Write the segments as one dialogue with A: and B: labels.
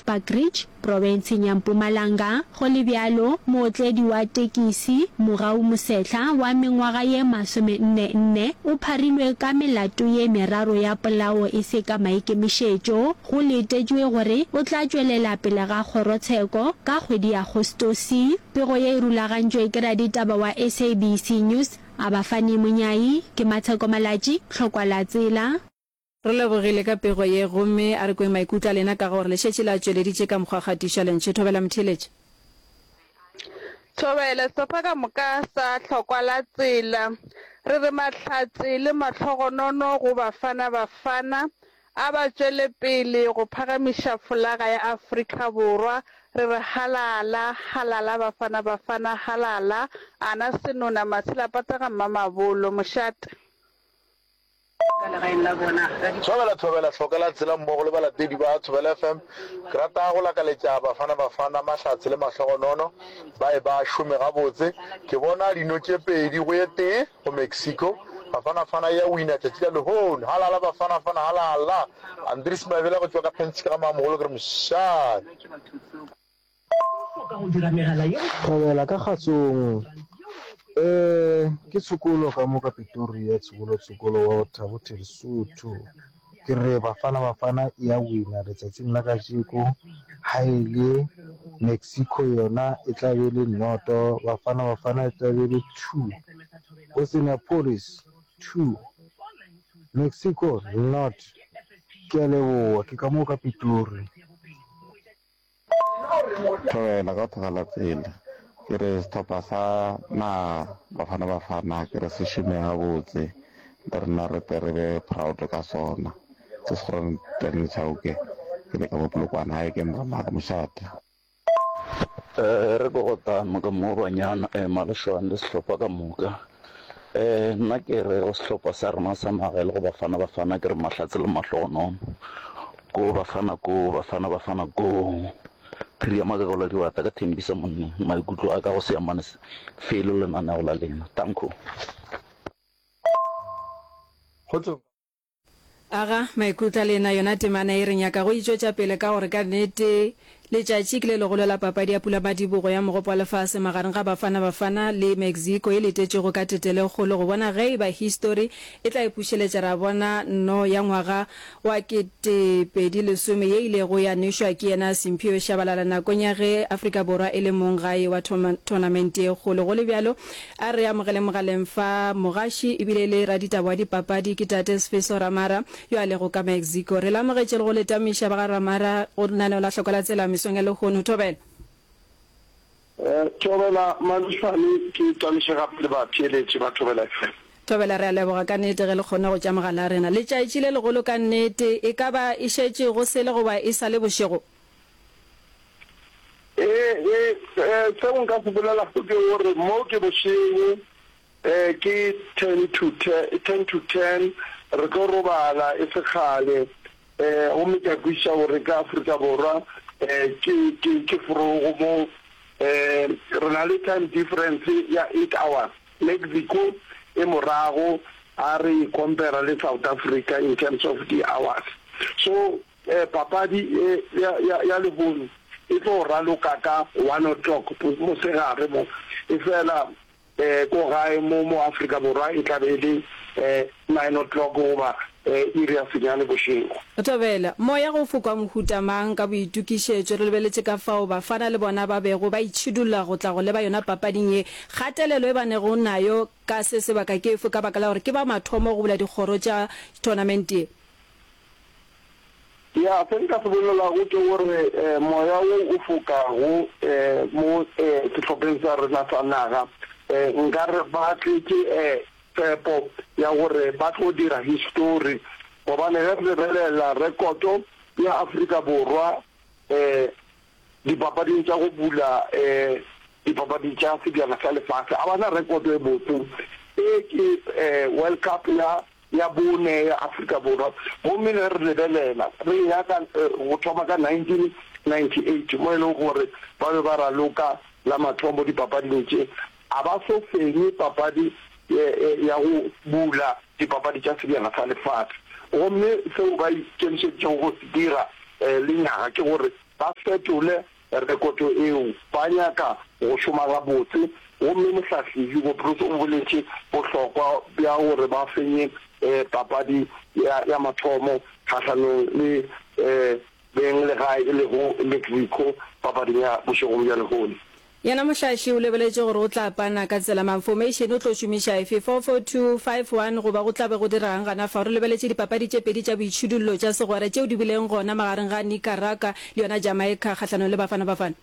A: Bushbuckridge, profenseng ya Mpumalanga. Go le bjalo, mootledi wa tekisi, Mogau Mosehla, wa mengwaga ye masomenne-nne, o pharilwe ka melato ye meraro ya polao e se ka maikemišetšo. Go letetšwe gore o tla tšwelela pele ga kgorotsheko ka kgwedi ya Agostose. Pego ye e rulagantšwe ke raditaba wa SABC News, Abafani Monyai. Ke Matsheko Malatji, Tlhokwa la Tsela.
B: Re lebogile ka pego ye gomme a re kweng maikutlo a lena ka gore le šetše le a tšweleditše ka mokgwa kgatišo ya lentšu. Thobela motheeletši.
C: Thobela, sehlopha ka moka sa Hlokwa la Tsela. Re re mahlatse le mahlogonono go Bafana Bafana. A ba tšwele pele go phagamiša folaga ya Afrika Borwa. Re re halala, halala Bafana Bafana, halala. Ana Senona, Matshelapata ga Mmamabolo. Mošate.
D: Thobela Thobela Hloka la tsela mmogo le balatedi ba Thobela FM. Ke rata go lakaletša Bafana Bafana mahlatse le mahlogonono. Ba e ba šome gabotse. Ke bona dino tše pedi go ye tee go Mexico. Bafana Fana e ya wina tšatši la lehono. Halala Bafana Fana halala. Andries Mabela go tšwa ka Penske ga Mamogolo ke re mošate.
E: Thobela ka kgatsong eh ke tshokolo ka mo ka Pretoria tshokolo tshokolo wa Thabo Lesotho ke re Bafana Bafana e ya wina letsatsing la kajeko ha e le Mexico yona e tla be le noto Bafana Bafana e tla be le two Oceanapolis two Mexico not ke a leboha ke ka mo ka Pitori.
F: Thobela ka tlogela tsela. Ke re sehlopha sa naga Bafana Bafana ke re se šome gabotse le rena re tle re be proud ka sona. Ke Sekgorong Chauke ke le ka mo Polokwane gae ke Mramaka mošate.
G: Re ko go tama ka mo banyana Malešwane le sehlopha ka moka. Nna ke re go sehlopha sa rena sa naga e le go Bafana Bafana ke re mahlatse le mahlogonono. Go Bafana go, Bafana Bafana go. Phiri ya Makakolo Diwata ka Thembisa Monneng, maikutlo a ka go se amane felo le lenaneo la lena. Danko.
H: Kgotsong.
B: Aga, maikutlo a lena, yona temana ye re nyaka go e tšwetša pele ka gore ka nnete letšatši ke le legolo la papadi ya pulamadibogo ya Mogopo wa Lefase magareng ga Bafana Bafana le Mexico e letetšwego ka tetelo e kgolo go bona ge e ba histori e tla ipušeletša ra bona nno ya ngwaga wa 2010 ye ilego ya nwešwa ke yena Simphiwe Shabalala nakong ya ge Afrika Borwa e le mong gae wa thonamente ye kgolo. Go le bjalo, A re amogele mogaleng fa mogaši ebile e le raditaba wa dipapadi ke Tate Sfiso Ramara yo a lego ka Mexico. Re le amogetše le go le tamiša ba ga Ramara go lenaneo la Hloko la Tsela mesong ya lehono. Thobela.
I: Thobela Malešwane, ke tamiše gape le batheeletši ba Thobela FM.
B: Thobela, re a leboga ka nnete ge le kgonne go tša mogala a rena. Letšatši le legolo ka nnete, e ka ba e šetše go sele goba e sa le bošego?
I: Ee, ee, seo nka se bolelago ke gore mo ke bošego, ke ten to ten, ten to ten, re tlo robala e se kgale. Gomme ke a kwešiša gore ka Afrika Borwa ke, ke, ke forogo mo, re na le time difference ya eight hours. Mexico e morago ha re e compare le South Africa in terms of di-hours. So, Papadi ye ya, ya, ya lehono e tlo raloka ka one o'clock mosegare mo, efela ko gae mo, mo Afrika Borwa e tla be e le nine o'clock goba iri ya senyane bošego.
B: Thobela, Moya go fokwa mohuta mang ka boitokišetšo? Re lebeletše ka fao bafana le bona ba bego ba itšhidulla go tla go leba yona papading ye. Kgatelelo e ba nego nayo ka se sebaka ke efe ka baka la gore ke ba mathomo go bula dikgoro tša thonamente ye?
I: Ya, se nka se bolelago ke gore moya wo o fokago mo sehlopheng sa rena sa naga, nka re ba tletše tshepo ya gore ba tlo dira histori, gobane ge re lebelela rekoto ya Afrika Borwa dipapading tša go bula dipapadi tša Sebjana sa Lefase, ga ba na rekoto e botse. E ke World Cup ya ya bone ya Afrika Borwa, gomme ge re lebelela re eya ka go thoma ka 1998 mo e lego gore ba be ba raloka la mathomo dipapading tše, a ba so fenye papadi ya go bula dipapadi tša Sebjana sa Lefase. Gomme seo ba ikemišeditšego go se dira lenyaga ke gore. ba fetole rekoto eo. Ba nyaka go šoma gabotse gomme mohlahli Hugo Broos o boletše bohlokwa bja gore ba fenye papadi ya mathomo kgahlanong le beng legae e lego Mexico papading ya bošegong bja lehono.
B: Yena mohlahli o lebeletše gore o tla pana ka tsela mang, formation o tlo šomiša efe, 4-4-2, 5-1 goba go tla be go diregang gana fao. Re lebeletše dipapadi tše pedi tša boitšhidullo tša segwera tšeo di bileng gona magareng ga Nicaragua le yona Jamaica kgahlanong le Bafana Bafana.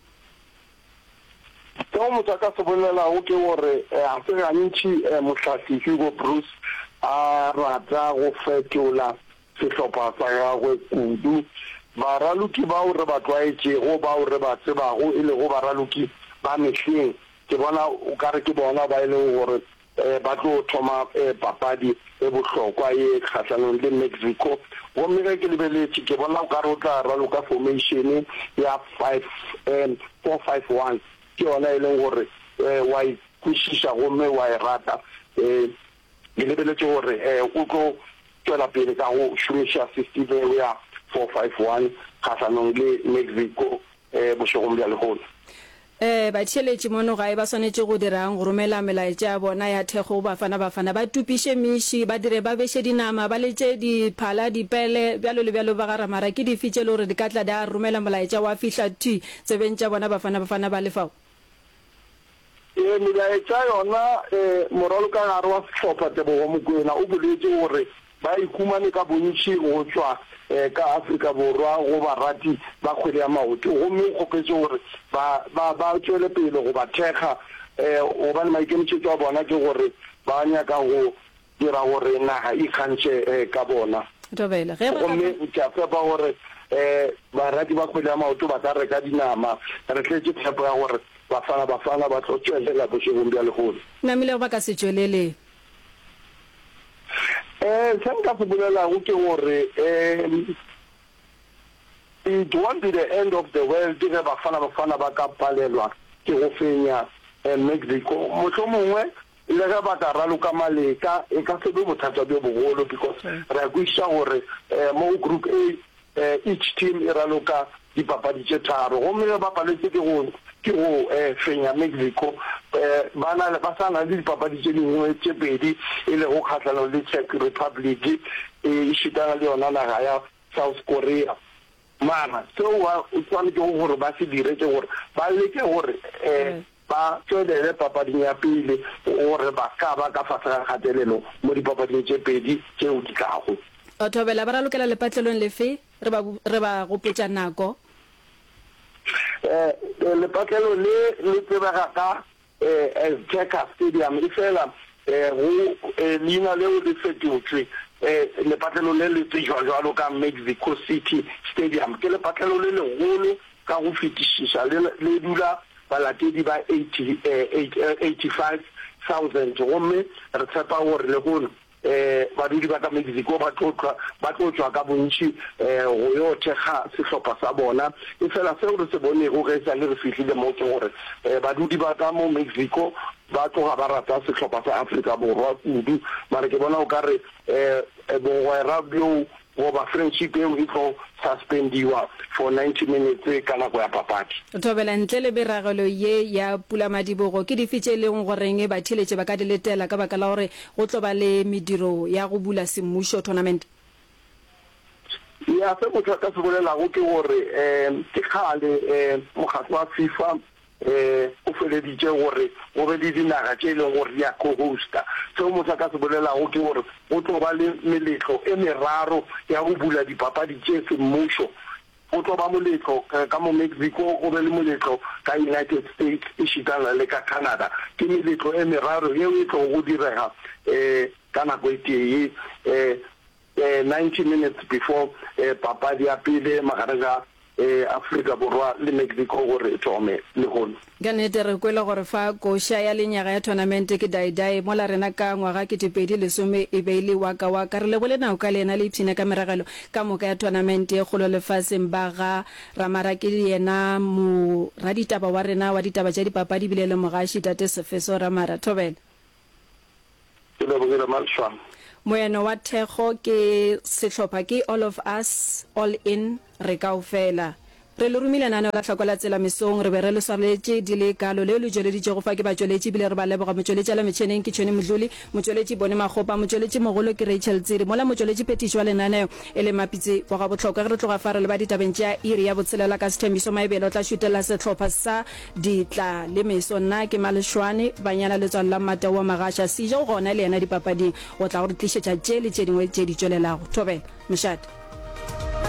I: Seo motho a ka se bolelago ke gore ga se gantši mohlahli Hugo Broos a rata go fetola sehlopha sa gagwe kudu. Baraloki bao re ba tlwaetšego, bao re ba tsebago e lego baraloki ba mehleng, ke bona o ka re ke bona ba e lego gore ba tlo thoma papadi e bohlokwa ye kgahlanong le Mexico. Gomme ge ke lebeletše, ke bona o ka re o tla raloka formation ya five, four-five-one. Ke yona e leng gore wa e kwešiša gomme wa e rata. Ke lebeletše gore o tlo tšwela pele ka go šomiša system eo ya 4-5-1 kgahlanong le Mexico bošegong bja lehono.
B: Batheeletši mono gae ba swanetše go dira'ng go romela melaetša ya bona ya thekgo go Bafana Bafana? Ba tupiše meši, ba dire ba beše dinama, ba letše diphala, dipele, bjalo le bjalo. Ba ga Ramara ke dife tše e le gore di ka tla di romela molaetša wa fihla thwi tsebeng tša bona Bafana Bafana ba le fao?
I: Ee, melaetša yona, moralokagare wa sehlopha Tebogo Mokoena o boletše gore ba ikhumane ka bontši go tšwa ka Afrika Borwa go barati ba kgwele ya maoto gomme o kgopetše gore ba ba ba tšwele pele go ba thekga gobane maikemišetšo a bona ke gore ba nyaka go dira gore naga e ikgantšhe ka bona.
B: Thobela. Ge ba ka
I: Gomme ke a tshepa gore barati ba kgwele ya maoto ba ka reka dinama. Re tletše tshepo ya gore Bafana Bafana ba tlo tšwelela bošegong bja lehono.
B: Namilego ba ka se tšwelele.
I: Se nka se bolelago ke gore it won't be the end of the world ge Bafana Bafana ba ka palelwa ke go fenya Mexico. Mohlomongwe Le ge ba ka raloka maleka, e ka se be bothata bjo bogolo because re a kwešiša gore mo go Group A each team e raloka dipapadi tše tharo gomme ge ba paletše ke go ke go fenya Mexico ba na ba sa na le dipapadi tše dingwe tše pedi e lego kgahlanong le Czech Republic e šitana le yona naga ya South Korea. Mara seo ba swanetšego gore ba se dire ke gore ba leke gore Ba tšwelele papading ya pele gore ba ka ba ka fase ga kgatelelo mo dipapading tše pedi tšeo di tlago.
B: O Thobela, ba ralokela lepatlelong lefe? Re ba, re ba gopotša nako.
I: Lepatlelo le le tsebega ka Azteca Stadium, efela go leina leo le fetotšwe. Lepatlelo le le tsejwa bjalo ka Mexico City Stadium. Ke lepatlelo le legolo ka go fetišiša, le le dula balatedi ba 85,000 gomme re tshepa gore lehono badudi ba ka Mexico ba tlo ba tlo tšwa ka bontši go yo thekga sehlopha sa bona. Efela seo re se bonego ge e sa le re fihlile mo ke gore badudi ba ka mo Mexico ba tloga ba rata sehlopha sa Afrika Borwa kudu. Mara ke bona o ka re bogwera bjoo Goba friendship eo e tlo suspendiwa for 90 minutes ka nako ya papadi.
B: Thobela, Ntle le meragelo ye ya pulamadibogo, ke dife tše e lego goreng batheeletši ba ka di letela ka baka la gore go tlo ba le mediro ya go bula semmušo tournament?
I: Ya, se motho a ka se bolelago ke gore ke kgale mokgatlo wa FIFA O feleditše gore go be le dinaga tše e leng gore di a co-hosta. Seo motho a ka se bolelago ke gore go tlo ba le meletlo e meraro ya go bula dipapadi tše semmušo. Go tlo ba moletlo ka mo Mexico, go be le moletlo ka United States ešitana le ka Canada. Ke meletlo e meraro yeo e tlogo go direga ka nako e tee, 90 minutes before papadi ya pele magareng ga Afrika Borwa le Mexico gore e thome lehono.
B: Ka nnete re kwele gore fa koša ya lenyaga ya thonamente ke Dai Dai, mola rena ka ngwaga 2010 e be e le Waka Waka. Re lebole Nauka le yena le ipshine ka meragelo ka moka ya thonamente ye kgolo lefaseng. Ba ga Ramara ke yena moraditaba wa rena wa ditaba tša dipapadi ebile e le mogaši, Tate Sefeso Ramara. Thobela.
I: Ke lebogile Malshwang.
B: Moeno wa thekgo ke sehlopha ke All of Us, All In, Re Kaofela. Re le romile lenaneo la Hloko la Tsela mesong. Re be re le swareletše di le kalo. Leo le tšweleditšego fa ke batšweletši ebile re ba leboga. Motšweletši a la metšheneng ke Tšhweni Mdluli, motšweletši Boni Makgopa, motšweletši mogolo ke Rachel Tsiri, mola motšweletši phethiši wa lenaneo e le Mapitsi wa Gabohlokwa. Ge re tloga fa re leba ditabeng tša iri ya botshelela ka Sethembiso Maebele o tla šutelela sehlopha sa Ditla le Meso. Nna ke Malešwane Banyana Letswalo la Mmatau wa Magasha. Sejo o gona le yena dipapading go tla go re tlišetša tše le tše dingwe tše di tšwelelago. Thobela. Mošate.